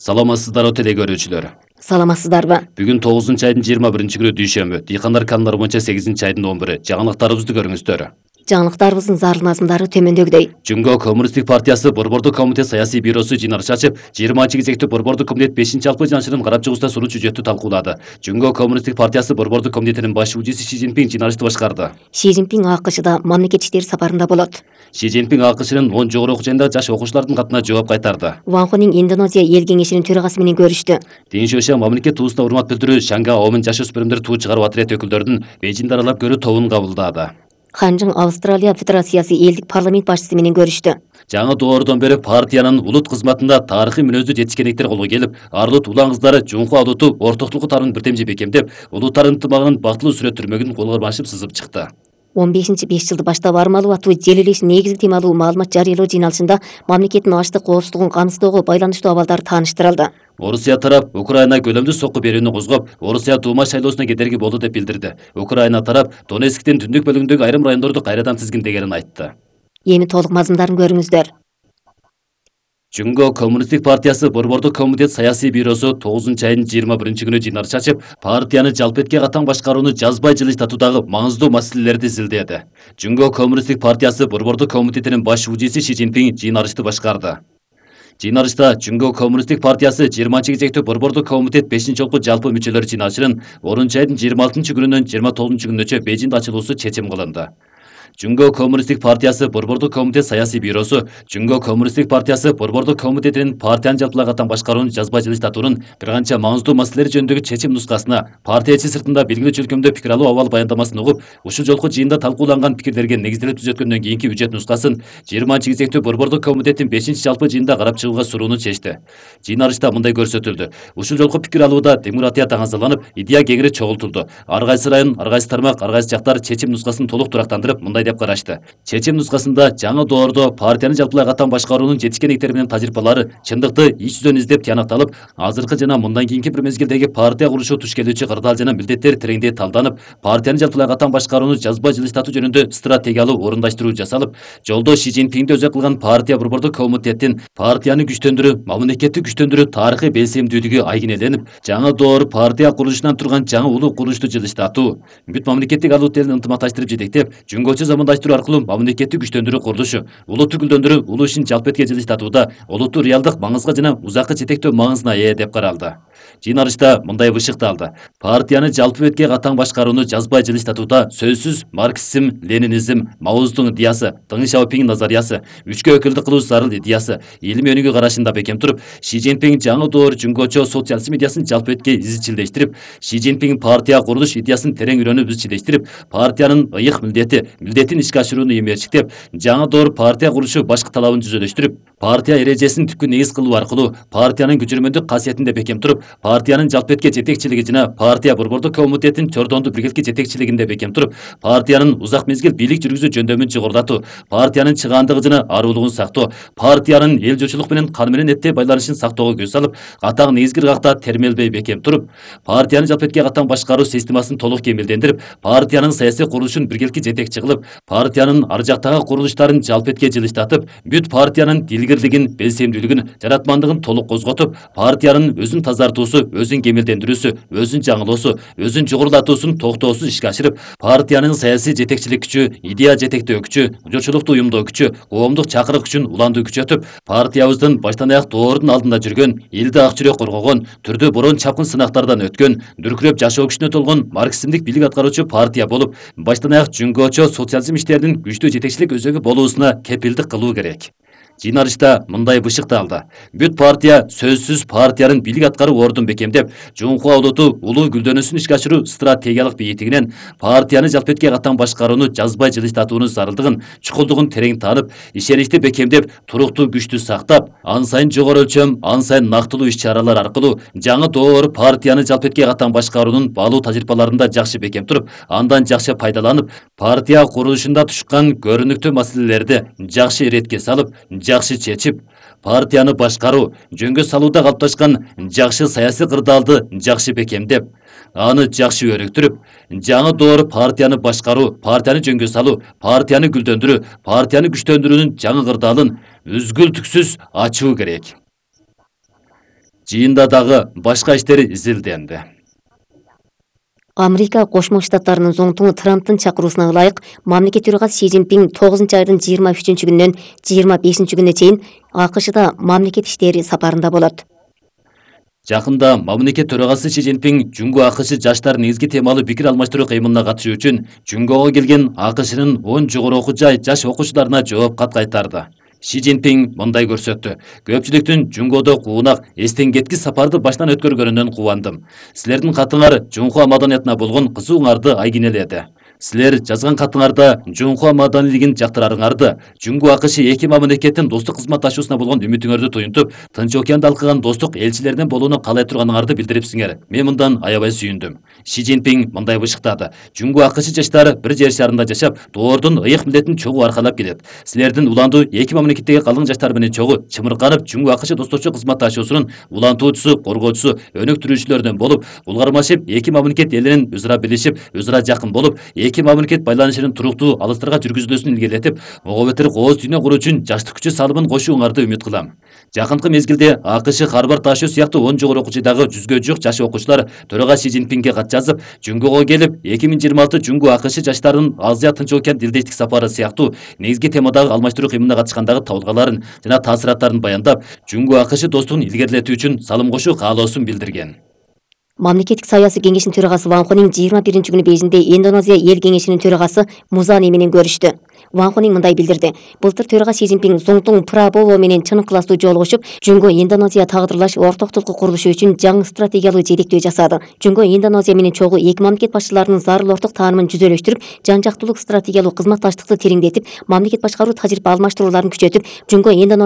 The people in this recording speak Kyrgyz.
Саламатсыздарбы теле көрүүчүлөр. Саламатсыздарбы? Бүгүн 9-айдын 21-күнү дүйшөмбү. Дыйкандар каналары боюнча 8-айдын 11-и. Жаңылыктарыбызды көрүңүздөр. Жаңылыктарыбыздын зарыл мазмундары төмөндөгүдөй. Жөнгө Коммунисттик партиясы Борбордук комитет саясий бюросу жыйналыш ачып, 20-кезектүү Борбордук комитет 5-алпы жыйналышынын карап чыгуусунда сурун чүжөттү талкуулады. Жөнгө Коммунисттик партиясы Борбордук комитетинин баш учуучусу Ши Цзиньпин жыйналышты башкарды. Ши Цзиньпин АКШда мамлекет иштери сапарында болот. Ши Цзиньпин АКШнын 10 жогору окуу жайындагы жаш окуучулардын катына жооп кайтарды. Ван Хонин Индонезия эл кеңешинин төрагасы менен көрүштү. Дин Шуйши мамлекет туусуна урмат билдирүү Шанга Омун жаш өспүрүмдөр туу чыгаруу отряд өкүлдөрүнүн Бейжиңди аралап көрүү тобун кабылдады. Ханжың Австралия Федерациясы элдик парламент башчысы менен көрүштү. Жаңы доордон бери партиянын улут кызматында тарыхый мүнөздүү жетишкендиктер колго келип, Арлут улан кыздары Жунху Алуту ортоктук тарын бирдемже бекемдеп, улуттардын ынтымагынын бактылуу сүрөттөрмөгүн колго башып сызып чыкты. 15-5 жылды баштап армалуу аттуу желилеш негизги темалуу маалымат жарыялоо жыйналышында мамлекеттин аштык коопсуздугун камсыздоого байланыштуу абалдар тааныштырылды. Орусия тарап Украина көлөмдүү сокку берүүнү козгоп, Орусия Дума шайлоосуна кедерги болду деп билдирди. Украина тарап Донецктин түндүк бөлүгүндөгү айрым райондорду кайрадан тизгиндегенин айтты. Эми толук мазмундарын көрүңүздөр. Жөнгө Коммунисттик партиясы Борбордук комитет саясий бюросу 9-айдын 21-күнү жыйналыш ачып, партияны жалпетке катаң башкарууну жазбай жылыштатуудагы маңыздуу маселелерди изилдеди. Жөнгө Коммунисттик партиясы Борбордук комитетинин баш учуучусу Ши Цзиньпин жыйналышты башкарды. Жыйналышта Жөнгө Коммунисттик партиясы 20-кезектүү Борбордук комитет 5-жолку жалпы мүчөлөр жыйналышынын 10-айдын 26-күнүнөн 29-күнүнчө Бейжиңде ачылуусу чечим кылынды. Жөнгө Коммунисттик партиясы Борбордук комитет саясий бюросу Жөнгө Коммунисттик партиясы Борбордук комитетинин партиянын жалпылай катан башкарууну жазбай жылыштатуунун бир канча маңыздуу маселелер жөнүндөгү чечим нускасына партия ичи сыртында белгилүү чөлкөмдө пикир алуу абал баяндамасын угуп, ушул жолку жыйында талкууланган пикирлерге негизделип түзөткөндөн кийинки бюджет нускасын 20-кезектүү Борбордук комитеттин 5-жалпы жыйында карап чыгууга сурууну чечти. Жыйналышта мындай көрсөтүлдү. Ушул жолку пикир алууда демократия таңазаланып, идея кеңири чогултулду. Ар кайсы район, ар кайсы тармак, ар кайсы жактар чечим нускасын толук турактандырып, мындай деп карашты. Чечим нускасында жаңы доордо партияны жалпылай катан башкаруунун жетишкендиктери менен тажрыйбалары чындыкты ич жүзөн издеп тыянакталып, азыркы жана мындан кийинки бир мезгилдеги партия курулушу туш келүүчү кырдаал жана милдеттер тереңдей талданып, партияны жалпылай катан башкарууну жазбай жылыштатуу жөнүндө стратегиялуу орундаштыруу жасалып, жолдо Ши Цзиньпинди өзөк кылган партия Борбордук комитеттин партияны күчтөндүрүү, мамлекетти күчтөндүрүү тарыхый белсемдүүлүгү айгинеленип, жаңы доор партия курулушунан турган жаңы улуу курулушту жылыштатуу, бүт мамлекеттик алуу тилин ынтымакташтырып жетектеп, жөнгөчө замандаштыруу аркылуу мамлекетти күчтөндүрүү курулушу, улутту гүлдөндүрүү улуу ишин жалпетке жылыштатууда улутту реалдык маңызга жана узакка жетектөө маңызына ээ деп каралды. Жыйналышта мындай бышыкталды. Партияны жалпы бетке катаң башкарууну жазбай жылыштатууда сөзсүз марксизм, ленинизм, Маоздун идеясы, Дeng Шаопиңдин назариясы, үчкө өкүлдүк кылуу зарыл идеясы, илимий өнүгүү карашында бекем туруп, Ши Цзиньпин жаңы доор жөнгөчө социализм идеясын жалпы бетке изчилдештирип, Ши Цзиньпин партия курулуш идеясын терең үйрөнүп изчилдештирип, партиянын ыйык милдетин ишке ашырууну эмерчиктеп, жаңы доор партия курулушу башкы талабын жүзөлөштүрүп, партия эрежесин түпкү негиз кылуу аркылуу партиянын күчөрмөндүк касиетинде бекем туруп, партиянын жалпетке жетекчилиги жана партия Борбордук комитетинин чордондуу биргеликке жетекчилигинде бекем туруп, партиянын узак мезгил бийлик жүргүзүү жөндөмүн жогорулатуу, партиянын чыгаандыгы жана аруулугун сактоо, партиянын эл журтчулук менен кан менен эттей байланышын сактоого көз салып, катаң негизги ыргакта термелбей бекем туруп, партиянын жалпетке катаң башкаруу системасын толук кемелдендирип, партиянын саясий курулушун биргеликке жетекчи кылып, партиянын ар жактагы курулуштарын жалпетке жылыштатып, бүт партиянын дилгирлигин, белсемдүүлүгүн, жаратмандыгын толук козготуп, партиянын өзүн тазартуусу, өзүн кемелдендирүүсү, өзүн жаңылоосу, өзүн жогорулатуусун токтоосуз ишке ашырып, партиянын саясий жетекчилик күчү, идея жетектөө күчү, журтчулукту уюмдоо күчү, коомдук чакырык күчүн уландуу күчөтүп, партиябыздын баштан аяк доордун алдында жүргөн, элди ак жүрөк коргогон, түрдүү борон чапкын сынактардан өткөн, дүркүрөп жашоо күчүнө толгон марксизмдик бийлик аткаруучу партия болуп, баштан аяк жөнгөчө социализм иштеринин күчтүү жетекчилик өзөгү болуусуна кепилдик кылуу керек. Жыйналышта мындай бышыкталды. Бүт партия сөзсүз партиянын бийлик аткаруу ордун бекемдеп, Жунху Алуту улуу гүлдөнүүсүн ишке ашыруу стратегиялык бийиктигинен партияны жалпетке катаң башкарууну жазбай жылыштатуунун зарылдыгын, чукулдугун терең таанып, ишеничти бекемдеп, туруктуу күчтү сактап, ан сайын жогору өлчөм, ан сайын нактылуу иш-чаралар аркылуу жаңы доор партияны жалпетке катаң башкаруунун баалуу тажрыйбаларында жакшы бекем туруп, андан жакшы пайдаланып, партия курулушунда тушкан көрүнүктүү маселелерди жакшы иретке салып, жакшы чечип, партияны башкаруу, жөнгө салууда калыпташкан жакшы саясий кырдаалды жакшы бекемдеп, аны жакшы өрүктүрүп, жаңы доор партияны башкаруу, партияны жөнгө салуу, партияны гүлдөндүрүү, партияны күчтөндүрүүнүн жаңы кырдаалын үзгүлтүксүз ачуу керек. Жыйында дагы башка иштер изилденди. Америка Кошмо Штаттарынын зоңтуңу Трамптын чакыруусуна ылайык мамлекет төрагасы Си Цзиньпин 9-айдын 23-күнүнөн 25-күнүнө чейин АКШда мамлекет иштери сапарында болот. Жакында мамлекет төрагасы Си Цзиньпин Жунго АКШ жаштар негизги темалуу пикир алмаштыруу кыймылына катышуу үчүн Жунгого келген АКШнын 10 жогору окуу жай жаш окуучуларына жооп кат кайтарды. Си Цзиньпин мындай көрсөттү. Көпчүлүктүн Жунгодо куунак, эстен кеткис сапарды баштан өткөргөнүнөн кубандым. Силердин катыңар Жунхуа маданиятына болгон кызууңарды айгинеледи. Силер жазган катыңарда Жунхуа маданилигин жактырарыңарды, Жунго АКШ эки мамлекеттин достук кызматташуусуна болгон үмүтүңөрдү туюнтуп, Тынч океанды алкаган достук элчилеринин болууну каалай турганыңарды билдирипсиңер. Мен мындан аябай сүйүндүм. Си Цзиньпин мындай бышыктады. Жунго АКШ жаштары бир жер шарында жашап, доордун ыйык милдетин чогуу аркалап келет. Силердин уландуу эки мамлекеттеги калың жаштар менен чогуу чымырканып Жунго АКШ достошчу кызматташуусунун улантуучусу, коргоочусу, өнүктүрүүчүлөрүнөн болуп, булгармашып эки мамлекет элинин өзара билишип, өзара жакын болуп, эки мамлекет байланышынын туруктуу алыстарга жүргүзүлүүсүн илгерилетип, ого бетер кооз дүйнө куруу үчүн жаштык күчү салымын кошууңарды үмүт кылам. Жакынкы мезгилде АКШ, Харвард ташуу сыяктуу 10 жогору окуу жайдагы 100гө жук жаш окуучулар төрага Си Цзиньпинге кат жазып, Жунгого келип 2026 Жунго АКШ жаштарынын Азия Тынч океан дилдештик сапары сыяктуу негизги темадагы алмаштыруу кыймылына катышкандагы табылгаларын жана таасираттарын баяндап, Жунго АКШ достугун илгерилетүү үчүн салым кошуу каалоосун билдирген. Мамлекеттик саясий кеңештин төрагасы Ван Хонин 21-күнү Бейжиңде Индонезия эл кеңешинин төрагасы Музани менен көрүштү. Ван Хонин мындай билдирди. Былтыр төрага Си Цзиньпин Зоңтуң Прабово менен чын ыкыластуу жолугушуп, Жунго Индонезия тагдырлаш ортоктулуку курулушу үчүн жаңы стратегиялуу жетектөө жасады. Жунго Индонезия менен чогуу эки мамлекет башчыларынын зарыл орток таанымын жүзөлөштүрүп, жан жактуулук стратегиялуу кызматташтыкты тереңдетип, мамлекет башкаруу тажрыйба алмаштырууларын күчөтүп, Жунго Индонезия